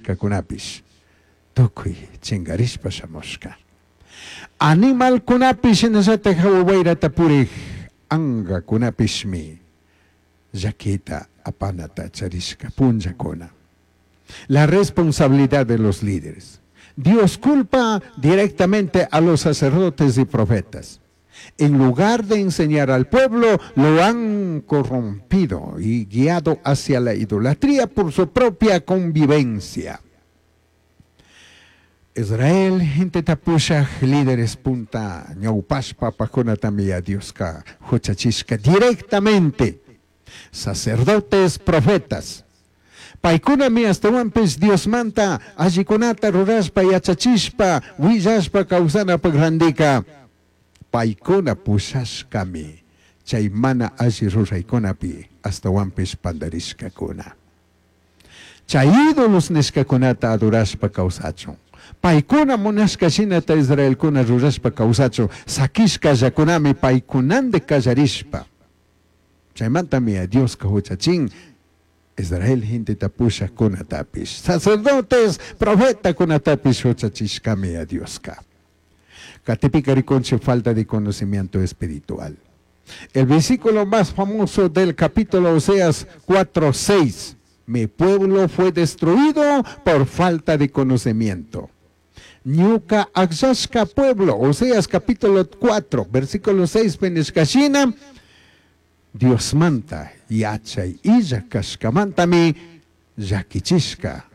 nishcacunapish tucui chingarishpa shamushca. Animalcunapish shinallataj jahua huairata purij angacunapishmi llaquita apanata charishca punllacuna. La responsabilidad de los líderes. Dios culpa directamente a los sacerdotes y profetas. En lugar de enseñar al pueblo, lo han corrompido y guiado hacia la idolatría por su propia convivencia. Israel, genteta pushaj líderes punta ñaupashpa apajcunatami Dioska juchachishca directamente. Sacerdotes, profetas. Paicunami ashtahuanpish Diosmanta allicunata rurashpa yachachishpa huillashpa causanapak randica paicuna pushashcami chay mana alli ruraicunapi ashtahuanpish pandarishcacuna. Chay ídolos nishcacunata adorashpa causachun. Paicuna munashca shinata israelcuna rurashpa causachun saquishcallacunami paicunandi callarishpa. Chaimantami Dioska juchachin Israel genteta pushajcunatapish, sacerdotes, profetacunatapish juchachishcami a Dioska. Catipika ricunchij falta de conocimiento espiritual. El versículo más famoso del capítulo Oseas 4:6. Mi pueblo fue destruido por falta de conocimiento. Ñuca agllashca pueblo, Oseas capítulo 4, versículo 6, nishca shina, Diosmanta yachai illa cashcamantami llaquichishca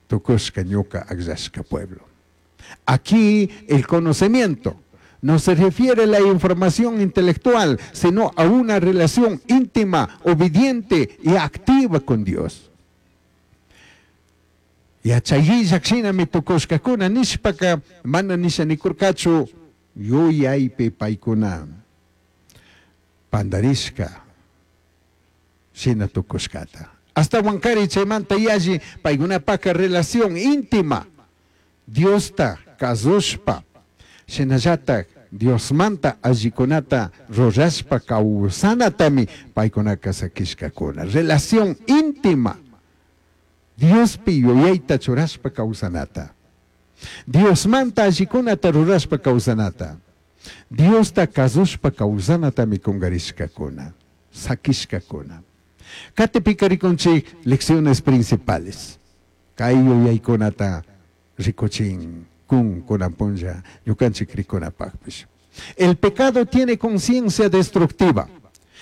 tucushca ñuca agllashca pueblo. Aquí el conocimiento no se refiere a la información intelectual, sino a una relación íntima, obediente y activa con Dios. Yachai shinami tucushcacuna nishpaca mana nisha nicurcachu yuyaipi paicuna pandarishca shina tucushcata. Ashtahuancari chaymanta yalli paicunapaca relación íntima Diosta cazushpa shinallataj Diosmanta allicunata rurashpa causanatami paicunaca saquishcacuna. Relación íntima Diospi yuyayta churashpa causanata. Diosmanta allicunata rurashpa causanata. Diosta cazushpa causanatami cungarishcacuna, saquishcacuna. Catipika ricunchij lecciones principales. Kay yuyaykunata ricuchin kun kunan punlla ñukanchik ricunapakpish. El pecado tiene conciencia destructiva.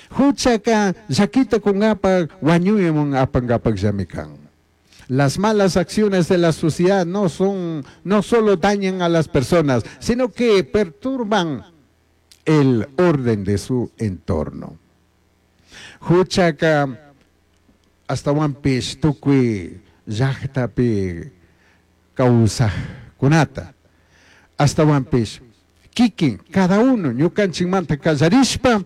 Juchaka llaquita kungapak wañuyman apangapak kan. Las malas acciones de la sociedad no solo dañan a las personas, sino que perturban el orden de su entorno. Juchaka ashtahuanpish tucui llajtapi causajcunata ashtahuanpish kikin cada uno ñukanchikmanta kallarishpa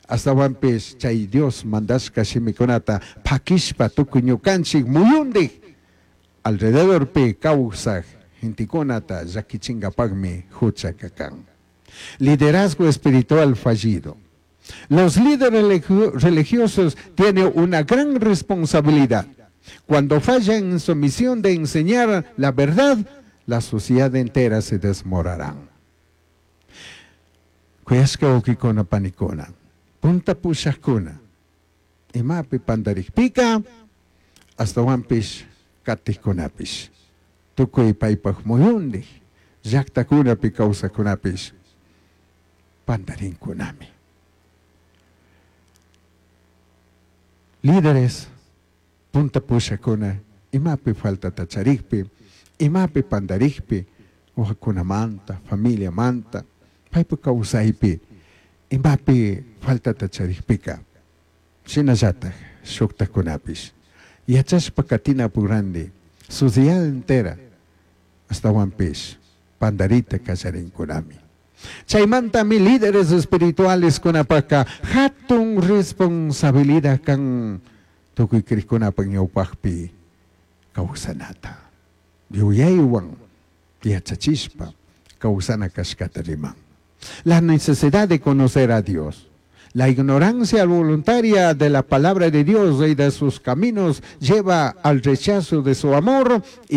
ashtahuanpish chay Dios mandashka shimikunata pakishpa tukuy ñukanchik muyundik alrededorpi kawsaj gentekunata llakichinkapakmi juchaka kan. Liderazgo espiritual fallido. Los líderes religiosos tienen una gran responsabilidad. Cuando fallan en su misión de enseñar la verdad, la sociedad entera se desmorará. Kuyashka wawkikuna panikuna, punta pushajkuna, imapi pandarikpika, ashtahuanpish katijkunapish, tukuy paypaj muyundik, llaktakunapi kawsajkunapish, pandarinkunami. Líderes, punta pushakuna, imapi faltata charikpi, imapi pandarikpi, wawakunamanta, familiamanta, paypa kawsaypi, imapi faltata charikpika, shinallataj shuktakunapish, yachashpa katina randi, sociedad entera, ashtahuanpish, pandarita kallarinkunami. Chaymantami líderes espirituales kunapaka hatun responsabilidad kan tukuy krikkunapak ñawpakpi kawsanata. Yuyaywan yachachishpa kawsana kashkata riman. La necesidad de conocer a Dios. La ignorancia voluntaria de la palabra de Dios y de sus caminos lleva al rechazo de su amor y